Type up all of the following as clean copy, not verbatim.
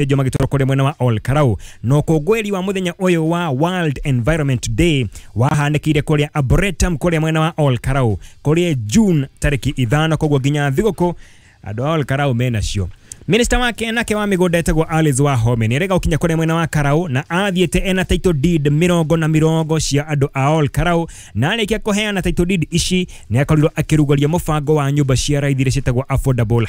Magĩthĩnjwo magĩtwarwo kũrĩa mwena wa Ol Kalou. Na ũkũngũĩri wa mũthenya ũyũ wa World Environment Day wahanĩkĩire kũrĩa Arboretum kũrĩa mwena wa Ol Kalou kũrĩa June tarĩki 5, koguo nginya thigũkũ andũ a Ol Kalou menacio. Minista wake nake wa mĩgũnda etagwo Alice Wahome nĩ arega gũkinya kũrĩa mwena wa Karau na athiĩte ena title deed mĩrongo na mĩrongo cia andũ a Ol Kalou, na arĩkia kũheana title deed ici nĩ akorirwo akĩrugũria mũbango wa nyũmba cia raithi iria ciĩtagwo affordable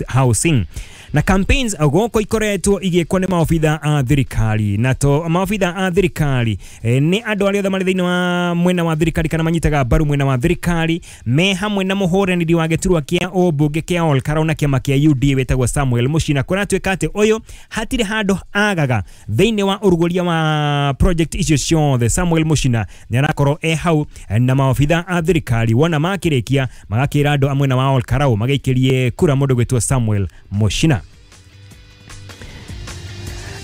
housing. Na campaigns gũkũ ikoretwo igĩkwo nĩ maobitha a thirikari, na to maobitha a thirikari, nĩ andũ arĩa othe marĩ thĩinĩ wa mwena wa thirikari kana manyitaga mbaru mwena wa thirikari me hamwe na mũhũranĩri wa gĩturwa kĩa ũmbunge kĩa Ol Kalou na kĩama kĩa UDA wĩtagwo Samuel Muchina. Kũratuĩka atĩ ũyũ hatirĩ handũ agaga thĩinĩ wa ũrugũria wa project icio ciothe. Samuel Muchina nĩ arakorwo e hau na maobitha a thirikari, wona makĩrĩkia magakĩra andũ a mwena wa Ol Kalou magĩikĩrie kura mũndũ gwĩtwo Samuel Muchina.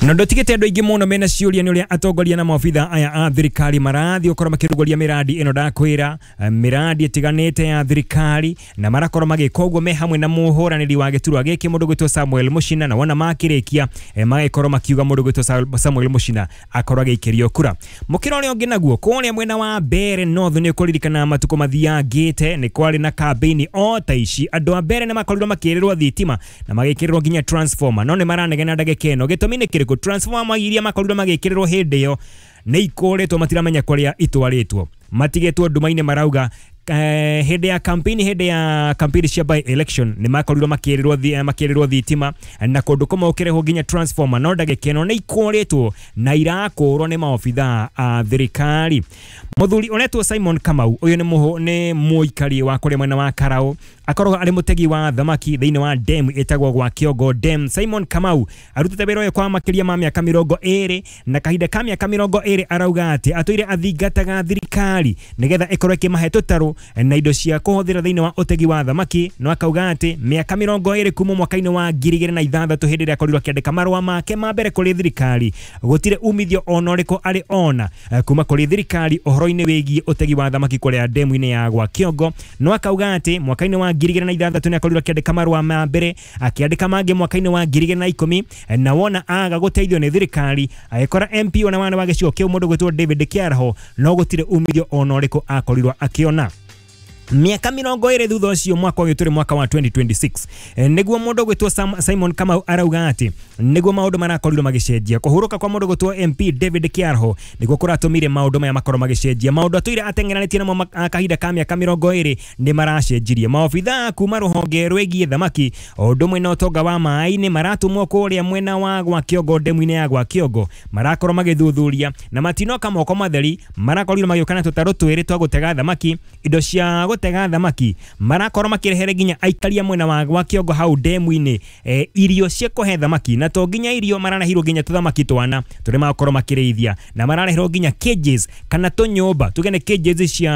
Na ndotigĩte andũ aingĩ mũno mena ciũria nĩ ũrĩa atongoria na maobitha aya a thirikari marathiĩ gũkorwo makĩrugũria mĩradi ĩno ndakwĩra, mĩradi ĩtiganĩte ya thirikari, na marakorwo magĩka ũguo me hamwe na mũhũranĩri wa gĩturwa gĩkĩ mũndũ gwĩtwo Samuel Muchina, na wona makĩrĩkia magĩkorwo makiuga mũndũ gwĩtwo Samuel Muchina akorwo agĩikĩrio kura. Mũkĩra ũrĩa ũngĩ naguo kũrĩa mwena wa Mbeere North nĩ ũkũririkana matukũ mathiangĩte nĩ kwarĩ na kambĩini o ta ici, andũ a Mbeere nĩ makorirwo makĩrĩrwo thitima na magĩkĩrĩrwo nginya transformer, no nĩ maranegena ndagĩka ĩno. Gĩtũmi nĩ kĩrĩkũ? Transformer iria makorirwo magĩkĩrĩrwo hĩndĩ ĩyo nĩ ikũrĩtwo, matiramenya kũrĩa itwarĩtwo, matigĩtwo nduma-inĩ. Marauga hĩndĩ ya campaign, hĩndĩ ya campaign cia by election nĩ makorirwo makĩrĩrwo thitima na kũndũ kũmwe gũkĩrehwo nginya transformer, no ndagĩka ĩno nĩ ikũrĩtwo na irakũrwo nĩ maobitha a thirikari. Mũthuri ũretwo Simon Kamau, ũyũ nĩ mũikari wa kũrĩa mwena wa Karau, akoragwo arĩ mũtegi wa thamaki thĩinĩ wa dam ĩtagwo gwa Kĩongo Dam. Simon Kamau arutĩte wĩra ũyũ kwa makĩria ma mĩaka 20, na kahinda ka mĩaka 20 arauga atĩ atũire athingataga thirikari nĩgetha ĩkorwo ĩkĩmahe tũtarũ na indo cia kũhũthĩra thĩinĩ wa ũtegi wa thamaki, no akauga atĩ mĩaka 20 kuma mwaka-inĩ wa 2006 hĩndĩ ĩrĩa akorirwo akĩandĩka marũa make ma mbere kũrĩ thirikari, gũtirĩ umithio ona ũrĩkũ arĩ ona kuma kũrĩ thirikari ũhoro-inĩ wĩgiĩ ũtegi wa thamaki kũrĩa demu-inĩ ya gwa Kĩongo. No akauga atĩ mwaka-inĩ wa 2006 nĩ akorirwo akĩandĩka marũa ma mbere, akĩandĩka mangĩ mwaka-inĩ wa 2010, na wona aga gũteithio nĩ thirikari agĩkora MP ona wana wa gĩcigo kĩu mũndũ gwĩtwo David Kĩaraho, no gũtirĩ umithio ona ũrĩkũ akorirwo akĩona. Mĩaka 20 thutha ũcio, mwaka ũyũ tũrĩ mwaka wa 2026, nĩguo mũndũ gwĩtwo Simon Kamau arauga atĩ nĩguo maũndũ marakorirwo magĩcenjia. Kũhurũka kwa mũndũ gwĩtwo MP David Kĩaraho nĩguo kũratũmire maũndũ maya makorwo magĩcenjia. Maũndũ atũire ateng'eranĩtie namo kahinda ka mĩaka 20 nĩ maracenjirie. Maobitha kuma rũhonge rwĩgiĩ thamaki o ũndũ ũmwe na ũtonga wa maĩ-inĩ maratũmwo kũrĩa mwena wa gwa Kĩongo, ndemu-inĩ ya gwa Kĩongo, marakorwo magĩthuthuria na matinoka moko matheri, marakorirwo magĩũka na tũtarũ twĩrĩ twa gũtega thamaki, indo cia gũtega thamaki, marakorwo makĩrehere nginya aikaria mwena wa gwa Kĩongo hau ndemu-inĩ irio cia kũhe thamaki, na to nginya irio, marareherwo nginya tũthamaki twana tũrĩa magakorwo makĩrĩithia, na marareherwo nginya cages kana tũnyũmba tuge nĩ cages cia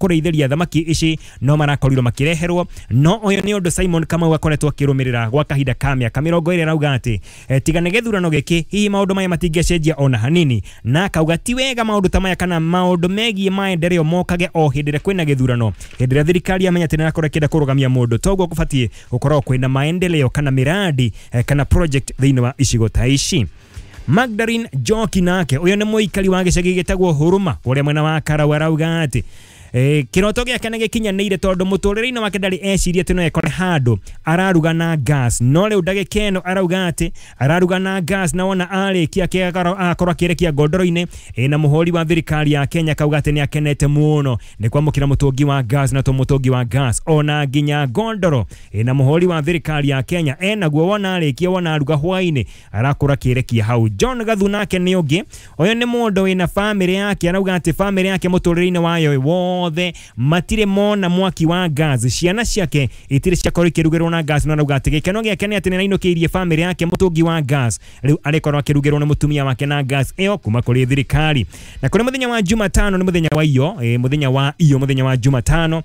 kũrĩithĩria thamaki ici, no marakorirwo makĩreherwo. No ũyũ nĩ ũndũ Simon Kamau akoretwo akĩrũmĩrĩra gwa kahinda ka mĩaka 20. Arauga atĩ tiga nĩ gĩthurano gĩkĩ hihi maũndũ maya matingĩcenjia ona hanini, na akauga ti wega maũndũ ta maya kana maũndũ megiĩ maendeleo mokage o hĩndĩ ĩrĩa kwĩna gĩthurano, hĩndĩ ĩrĩa thirikari yamenya atĩ nĩrakorwo ĩkĩenda kũrũgamia mũndũ. Toguo kũbatiĩ gũkorwo kwĩna maendeleo kana miradi kana project thĩinĩ wa icigo ta ici. Magdalene Njoki nake ũyũ nĩ mũikari wa gĩcagi gĩtagwo Huruma kũrĩa mwena wa Karau, arauga atĩ kĩroto gĩake nĩ gĩkinyanĩire tondũ mũtũrĩre-inĩ wake ndarĩ eciria atĩ no ekore handũ araruga na gas, no rĩu ndagĩka ĩno arauga atĩ araruga na gas, na wona arĩkia agakorwo akĩrekia ngondoro-inĩ. Na mũhũri wa thirikari ya Kenya kauga atĩ nĩ akenete mũno nĩ kwamũkĩra mũtũngi wa gas, na to mũtũngi wa gas ona nginya ngondoro. Na mũhũri wa thirikari ya Kenya enaguo, wona arĩkia, wona aruga hwainĩ, arakorwo akĩrekia hau. John Gathu nake nĩ ũngĩ, ũyũ nĩ mũndũ wĩna bamĩrĩ yake, arauga atĩ bamĩrĩ yake mũtũrĩre-inĩ wayo wothe matirĩ mona mwaki wa gas, ciana ciake itirĩ ciakorwo ikĩrugĩrwo na gas, no arauga atĩ gĩkeno gĩake nĩ atĩ nĩ arainũkĩirie bamĩrĩ yake mũtũngi wa gas, rĩu arĩkorwo akĩrugĩrwo nĩ mũtumia wake na gas ĩyo kuma kũrĩ thirikari. Na kũrĩ mũthenya wa Jumatano nĩ mũthenya wa iyo, mũthenya wa iyo, mũthenya wa Jumatano.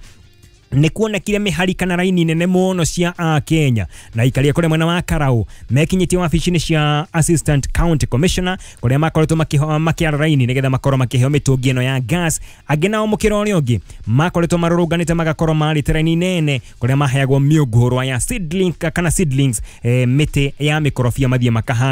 Nĩ kuonekire mĩhari kana raini nene mũno cia Akenya na ikaria kũrĩa mwena wa Karau mekinyĩtie wabici-inĩ cia Assistant County Commissioner kũrĩa makoretwo makĩara raini nĩgetha makorwo makĩheo mĩtũngi ĩno ya gas. Angĩ nao mũkĩra ũrĩa ũngĩ makoretwo marũrũnganĩte magakorwo marĩte raini nene kũrĩa maheagwo mĩũngũrwa ya seedling kana seedlings, mĩtĩ ya mĩkorobia mathiĩ makahande.